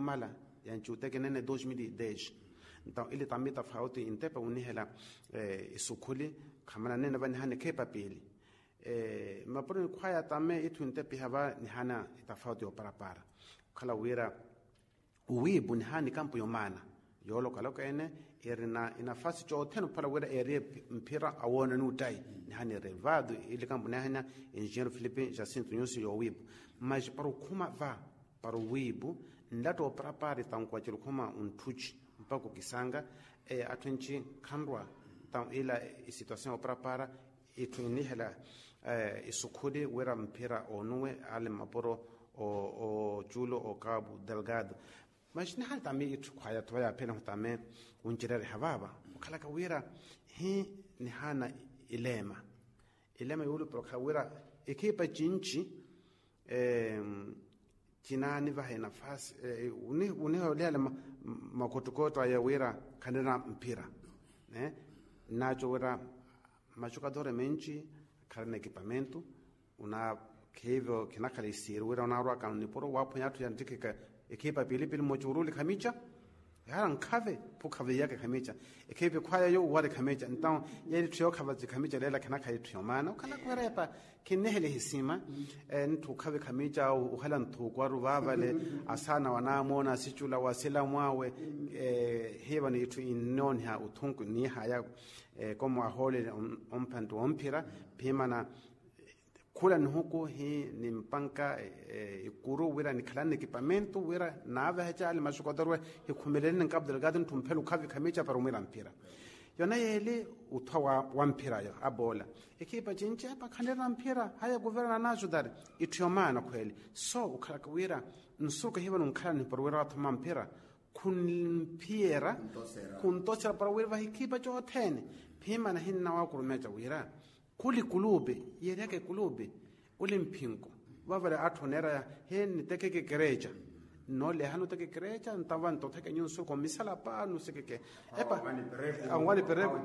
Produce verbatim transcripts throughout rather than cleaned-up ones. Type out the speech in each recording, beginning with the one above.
Mala yanci uteke nene dos mil e dez. Ntawo ile tamita fauti intepe unihela isukhuli khamana nene vanihani khepa pili. Mapuro nikhwaya tame ithu intepe hava nihana itafauti yoparapara khala wira uwiipu nihani kampu yomaana yolokaloka ene irina inafasi cothene ophala wira eriye mphira awoona nuttayi. Nihani revado ili kampu nihana enjinheiro filipe jacinto nyusi yowiipu. Mas para okhuma va para owiipu nlatta oparapara itankuwa ciri okhuma ontthuci mpakha okisanga atthu enci khanrwa. Ila isituasion oparapara itthu inihela isukhuli wira mphira onuwe ale mmapuro oculo okabu delgado. Mas nihali tame itthu khwaya tuvayapheneho tame oncerereha vava okhalaka wira hi nihana ileema ileema yoolupira okhala wira ekhipa cinci cinaanivaha enafasi uniholihale makhottukotto aya wira khanira mphira. Nnaco wira machukadore menci kharina ekipamento una khivyo khinakhala isiiri wira onarwaka nnipuro waphwanya atthu yanttikheka ekhipa pilipili mmoci uruli khamica. Hara nkhave phukhave iyaka khamica ekhipi khwaya yo uwari khamica ntawo yeli itthu yookhava cikhamica leela khinakhala itthu yomaana okhala khuwerepa. Khinnihele hisima nitthu okhave khamica uhela nthuuku aru vavale asana wanamoona asicula wasilamu awe. Hiva ni itthu innooniha uthunku nihaya komo ahoolele omphantti womphira phimana khula nihuku hi nimpanka ikuru wira nikhalani ekipamento wira naaveheca ale maxukotoruwe hikhumeleleni nkapu delgado ntthu mphela okhavi khamica para omwira mphira. Yona yeeli uthwa wa mphira yo aboola ekhipa cinci epa khanirina mphira haya kuverna naxutari itthu yomaana khweeli. So okhalaka wira nsuku ehivano nkhalani para wira wathoma mphira khunphiyera khuntosera para wira vahi ekhipa cothene. Phimana hinnawakurumeca wira khuli ekulupe yeeriyaka ekulupe oli mphinko vavale atthu oneeraya he nnitekeke ekereca. Nnolehani oteka ekereca ntawa ntotheke nyunsu komisala pa nusekeke epa awani pereku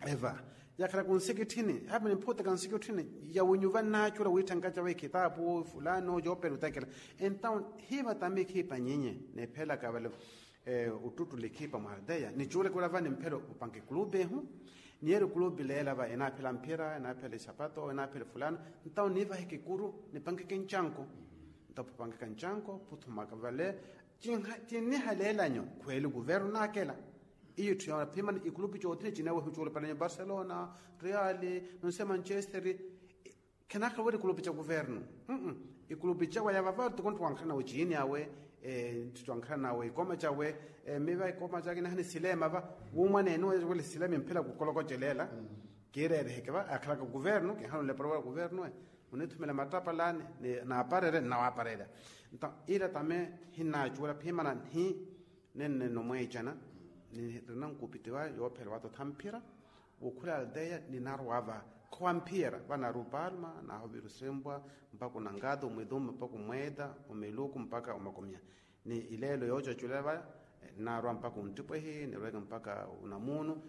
eva yakhala kunsikitthini hapa nimphuuteka nsikitthini yawinyuva nnaacula wiitthenka cawe khitapu fulano yoopela otekela. Entawo hiva tame ekhipa nyinyi neephelaka vale ottuttula ekhipa mwa aldeya nicuuleke wira va nimphela opanka ekulupe ehu. Niyeeri ekulupe leela va enaaphela mphira enaaphela isapato enaaphela fulano. Ntawo niivaheke ekuru nipankeke ncanko ntawo phupankeka ncanko phuthumaka vale cinniha leelanyo khweeli kuverno naakela. Iyo itthu yoona phimana ekulupe cothene cineewa hicuulo palanyo barcelona real nonse manchester. Khenakhala wira ekulupe ca kuverno ekulupe cawe yavava toko ntthu wankhalana ociini awe ntthu wankhalana awe ikoma cawe. Miva ikoma cake nahani silema va wumwaneene wele silema emphela kukolokocelela kiirereheke va akhalaka kuverno kinhalonle para wira kuverno e munithumela mattapalani naaparerya nnawaparerya. Nta ila tame hinnaacuwela phimana nhi nenneno mweecana nirina nkupiti wa yoophela watotha mphira. Wokhula aldeya ninarwa va khowamphiyera vanaari opalma nahovira osempwa mpaka onangado omwidumba mpaka omweda omeluku mpaka omakomya. Ni ileelo yoocaculela va nnaarwa mpaka onttipwehi nirweke mpaka onamunu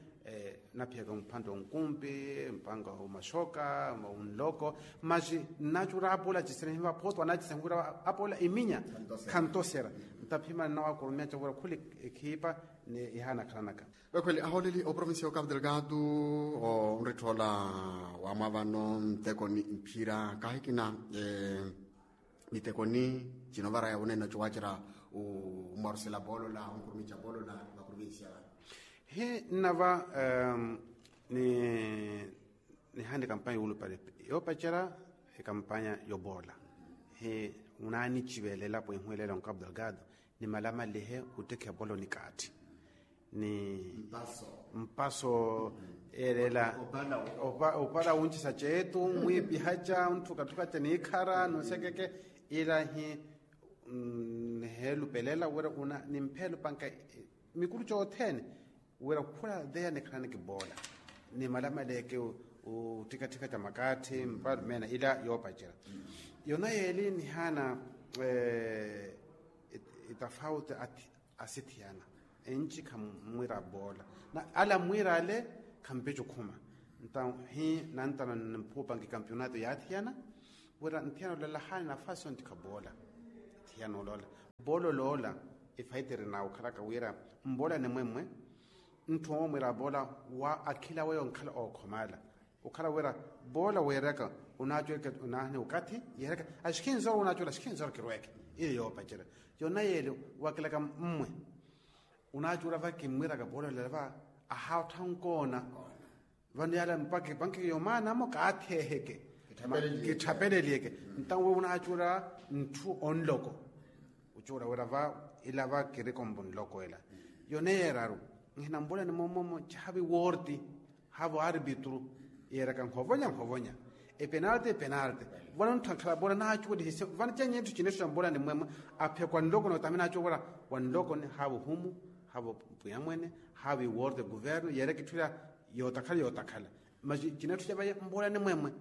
naphiyaka mphantte onkumpi mpaka omaxoka onloko. Maxi nnacura apoola cisene hiva photo anacisene wira apoola iminya khantosera. Ntaphimana nnawakurumeya cavura khuli ekhipa ni ihaanakhalanaka. Vekhweli ahooleli oprovincia yo capu delgado onritthoola wamwa vano ntekoni mphira kahikina mitekoni cinovaraya wunene ocowacera omwarusela poolola onkurumica poolola vakuruvincia vano. Hi nnava ni nihani kampanya yoolupale yoopacera ekampanya yopoola hi munaanicivelela pwehiwelela onkapu delgado ni malamalihe ottekha epolo ni kaatti ni mpaso eerela opala wuncisa ceetu mwiipihaca ontthukatthukaca niikhara nonsekeke ila hi niheelupelela wira una nimpheelupanka mikuru cothene wira khula aldeya nikhalani kipoola ni malamaleeke ottikatthika ca makaatthi mpara meena ila yoopacela. Yona yeeli nihaana itafauti asithiyana enci khammwira poola na ala mmwira ale khampici okhuma. Nta hi nantana niphuupanka ekampionato yaathiyana wira nthiyana olala haani nafasi onttikha poola nthiyana olala Boololoola, efayitiri na okhalaka wira mboolani mwemmwe. Ntthu omwira boola wa akhila weyo nkhala ookhomala okhala wira boola weeraka. Onaacuweke onaahini okathi yeeraka axikhinzoro onaacuwela axikhinzoro kirweeke. Iyo yoopacerya yona yeeli wakilaka mmwe. Onaacuwela va kimmwiraka boola olela va ahaattha onkoona. Vano yaala mpakha epanki yomaanamo kaatheeheke kitthapeleliyeke. Ntawe onaacuwela ntthu onloko ocuwela wira va ila va kirikombo nloko ela. Yone yeeraru nhinambolani momomo chahavi worti. Haavo arpitru yeeraka nhovonya nhovonya epenalte epenalte. Vano ntthu ankhala bola naacuwelihise vano chenye ntthu chinetthu chambolani mwemwe. Aphekwa nloko notamina acuwela wa nlokoni haavo humu haavo pwiyamwene haavo iworte guvernu yeeraka itthu ila yootakhala yootakhala. Masi chinetthu chavaye mbolani mwemwe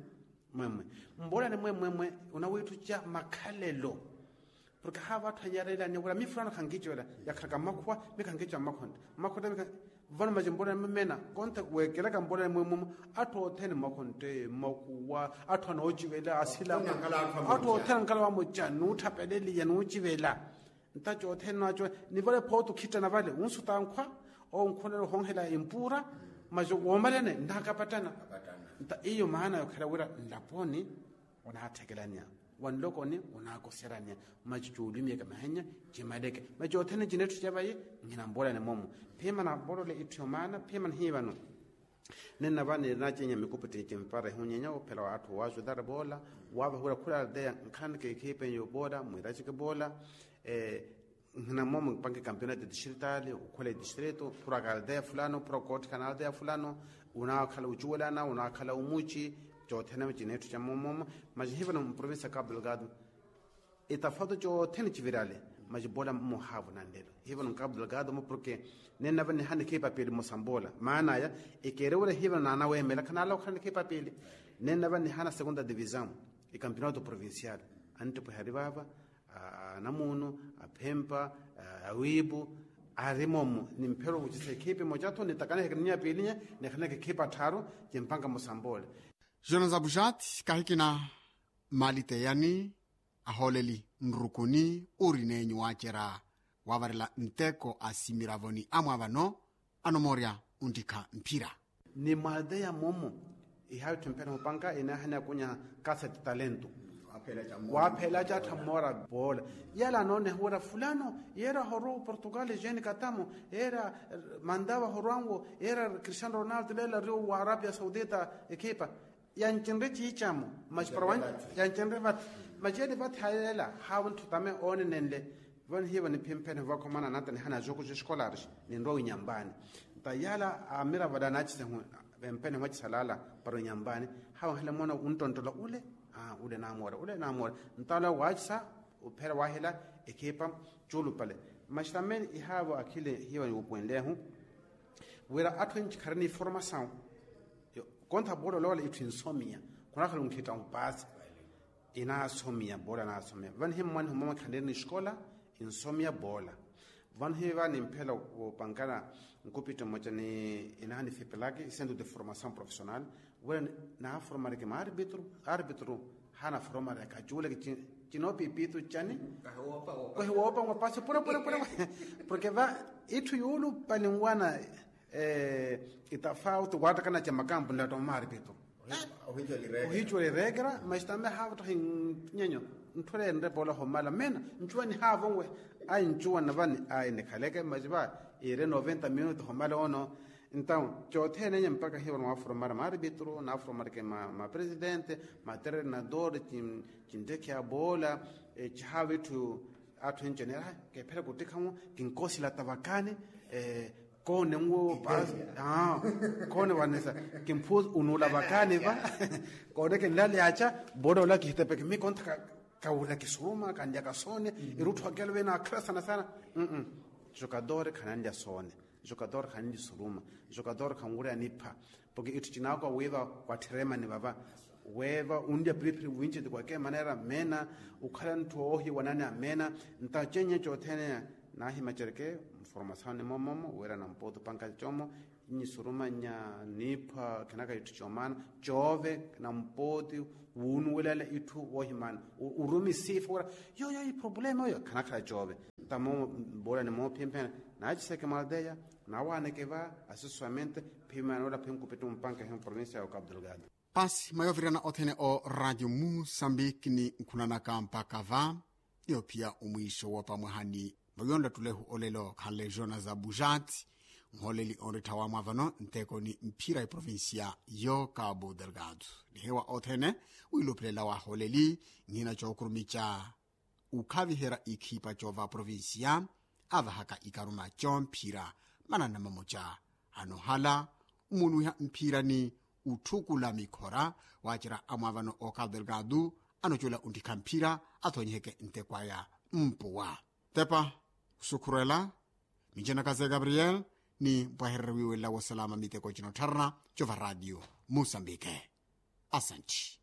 mwemwe mbolani mwemwemwe. Unawiitthu cha makhalelo porke haava atthu anyarelani wira mi fulano khankicuwela yakhalaka mmakhuwa mi khankicuwa mmakhontte mmakhontte. Vano masi mbolani mwemwena konte weekelaka mbolani mwemwemwe atthu othene mmakhontte mmakuwa atthu anoociwela asilamu atthu othene ankhala wamoca nuutthapeleliya nuuciwela. Nta cothene naaco nivale phooti okhittana vale unsuta nkhwa onkhonela ohonhela empuura. Masi woomalene nnaakapattana nta iyo maana yokhala wira nlaponi onaatthekelaniya wanlokoni onaakoseraniya. Masi coolumiyaka mahenya cimaleke masi cothene cinetthu cavayi. Nhinambolani momo phimana bolole itthu yomaana phimana hiivano. Nenna va nirina cenya mikuputti cimpara ehunyenya ophela wa atthu wa ajudar boola wavahuwela khula aldeya nkhanike ekhipenyo boola mwiracike boola. Nhina momo mpanke campeonato distrital okhwela edistrito phuraka aldeya fulano phuraka ootthikana aldeya fulano. Unaakhala ocuwelana unaakhala omuci cothene cinetthu ca momomo. Masi hivano mprovincia ya cabo delgado etafauti cothene civirale. Masi boola mmohaavo nanlelo hivano nkaapu delgado mo porke nennava nihana ekhipa piili mmosa mboola maana aya ekeerewela hivano naanaweemela khanaala okhala nikhipa piili. Nennava nihana segunda divisão ekampeonato provincial anttipwehe ari vaava anamuunu aphempa awiipu ari momo nimphero wucisa ekhipa emoca-tho nitakaniheke ninya piilinya nikhaniheke ekhipa tthaaru. Cimpanka mmosa mboola. Jonas abuxati kahikina maliteyani ahooleli nrukuni ori neenyu waacerya waavarela nteko a simiravoni amwa vano anomoorya onttikha mphira. Ni mwalteya momo ihawitthu mphene opanka inaahani akunya kasete talento. Waaphela acattha mmoora poola yala anooneha wira fulano yeera ahorwa oportugal jeni katamo yeera mantava ahorwanwo yeera cristiano ronaldo leela ariwo wa arabia saudita ekhipa. Yancinre ciicamo masi para yancinre vathi masi ele vathi hayeela haavo ntthu tame oonenenle. Vanihiiva niphimphene vakhomana nata nihana jogo joscolares ninrowa winyambaani. Nta yaala amiravo ala anaacisehu vempene hwacisalala para winyambaani haavo nhela moona unttonttola ule ule namoora ule namoora. Nta ola waacisa uphera wahela ekhipa cuulupale. Masi tame ihaavo akhile hiiva niwupuwenlehu wira atthu enci kharina informasawu. Kontha boola olowala itthu insomiya khunakhala onkhitta ompaasi. Inaasomiya boola anaasomiya vanihimmwaniho mama khanirina escola insomiya boola. Vanihiva nimphela wopankana nkupitto mmoca ni inaha nifipelaki centro de formação profissional wira naaformareke maarbitro arbitro hanaformareke acuuleke. Cinoopipitu cani? Kwehi woopa ng'wa paasi pure pure pure. Porke va itthu yuulupali nwana itafauti waattakana ca makampu nlatta omaaripito. Ohicuwela ireekera masi tame haavo tahi nyenyo ntthu ela enrepa ola homala meena ncuwa nihaavo nwe. Ai ncuwa navani ai nikhaleke masi va iire noventa minuto homala ono. Entaw cothene enya mpakha hiivo nwaaforomara maaripitro naaforomara ke mapresidente matreinador. Cintteke aboola cihaavo itthu atthu enci oneera kephera kuttikha-mo kinkosila tavakani. Koone nwo paasi koone wanisa kimphuusi unuula vakaani va. Koone kinlaleyaca boola ola kihitepeke mi kontha kawula kisuruma kanlyaka soone. Irutthu akelo vene akhala sana sana. Jogador khananlya soone jogador khananlya isuruma jogador khanwurya nipha. Porke itthu cinaakowa wiiva watthiremani vava weeva unlya piriphiri winci ti kwake maneera meena. Ukhala ntthu oohiwanani ameena nta cenya cothene naahimacereke mformasaoni momomo wira nampooti opanka como. Nyisurumanya niipha khanakhala itthu comaana coove nampooti wuunuwelala itthu woohimaana. Urumi siifa wira yoyo iproblema oyo khanakhala coove. Tamo bola ni moophimphena, naaciseke mwalteya, nawaaneke va aseswamente phimana ola phinkupittu mpanke hi provincia ya okapu delgado. Pasi mwayovirana othene o radio musambiki ni nkhunanaka mpaka va niyo phiya omwiixo woopa mwahani. Mwayonttattulehu olelo khanle jonas abujati, nholeli onrittha wamwavano nteko ni mphira eprovincia yo cabo delgado. Nihewa othene wiiluphelela waholeli nhina cookurumica ukhaviherya ikhipa coova provincia, avahaka ikaruma comphira manana mamoca anohala, mmunuwiha mphira ni utthukula mikhora, wacerya amwaavano okapu delgado anocola onttikha mphira, athonyiheke nteko aya mpuwa. Tepa kusukhurela, mincenaka ze gabriel ni mpwahererya wiiwelela wosalama miteko cino ottharana cova radio musambike. Asanti.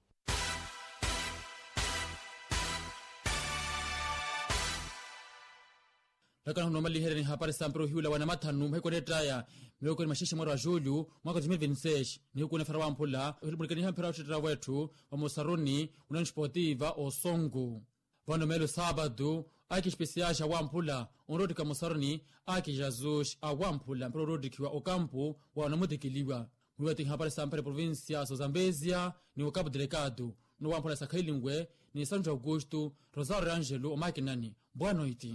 Ntakana hunomaliherya ni hapari sampira ohiwula wa namathanu mahiku anettaya, miwekoni maxexe mwaru a julio mwaka wa dois mil vinti seis. Nihiku onefera wamphula ohilumulikaniha mphira ottettera wetthu wa mosaruni unani sportiva osongu. Vano meelo saapatu, aki espesiaxa wamphula onroottikha mosaruni, aki jazuxi a wamphula mpira orootthikiwa okampu wa onamutikiliwa. Mwiiwatiha hapari sampira provincia so zambezia ni okapu delgado, no wamphula sakhayilinwe ni santu aukustu, rosario angelo omakinani. Boa noiti.